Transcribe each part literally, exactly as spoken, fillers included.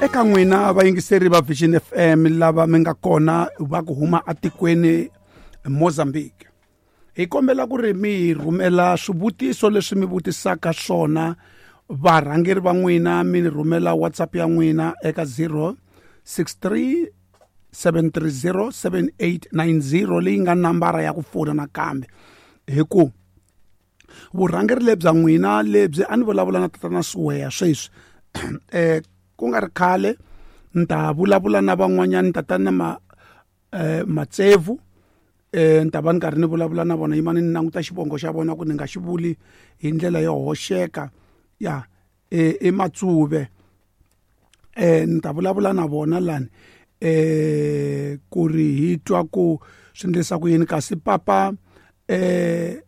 Eka n'wina vayingiseri va Vision F M lava mi nga kona va ku huma atikweni Mozambique, hi kombela ku ri mi hi rhumela swivutiso leswi mi vutisaka swona varhangeri va n'wina, mi ni rhumela WhatsApp ya n'wina eka zero six three seven three zero seven eight nine zero leyi nga nambara ya ku fona nakambe. Hi ku vurhangeri lebya n'wina lebyi a ni vulavula na tatana Siweya sweswi, eh ku nga ri khale ni ta vulavula na van'wanyana tatana ma, eh, Matsevu, eh, ni ta va ni karhi ni vulavula na vona, yimani ni languta xivongo xa vona ku ni nga xi vuli hi ndlela yo hoxeka ya, eh, i Matsuve. Eh, ni ta vulavula na vona lani, eh, ku ri hi twa ku swi endlisa ku yini. Kasi papa, eh,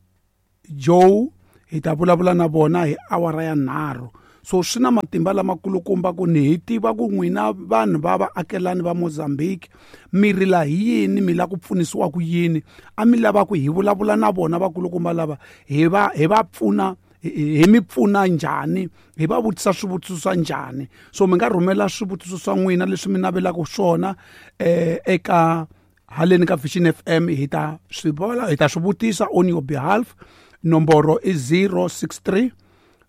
Joe hi ta vulavula na vona hi awara ya nharhu. So swi na matimba lamakulukumba ku ni hi tiva ku n'wina vanhu va vaakelani va Mozambique mi rila hi yini, mi lava ku pfunisiwa ku yini, a mi lava ku hi vulavula na vona vakulukumba lava hi va, hi va pfuna, hi, hi mi pfuna njhani, hi va vutisa swivutiso swa njhani. So mi nga rhumela swivutiso swa n'wina leswi mi navelaka swona, eh, eka haleni ka Vision F M, hi ta swi vula, hi ta swi vutisa on your behalf. Nomboro i zero six three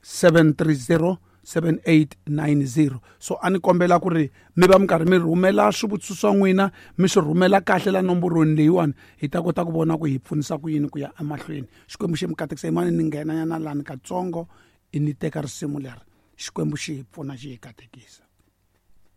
seven three zero seven eight nine zero. So a ni kombela ku ri mi va mi karhi mi rhumela swivutiso swa n'wina, mi swi rhumela kahle la nomborweni leyiwani, hi ta kota ku vona ku hi pfunisa ku yini ku ya emahlweni. Xikwembu xi mi katekisa. Yimani ni nghena nyana lani katsongo, i ni teka risimu leri. Xikwembu xi hi pfuna, xi hi katekisa.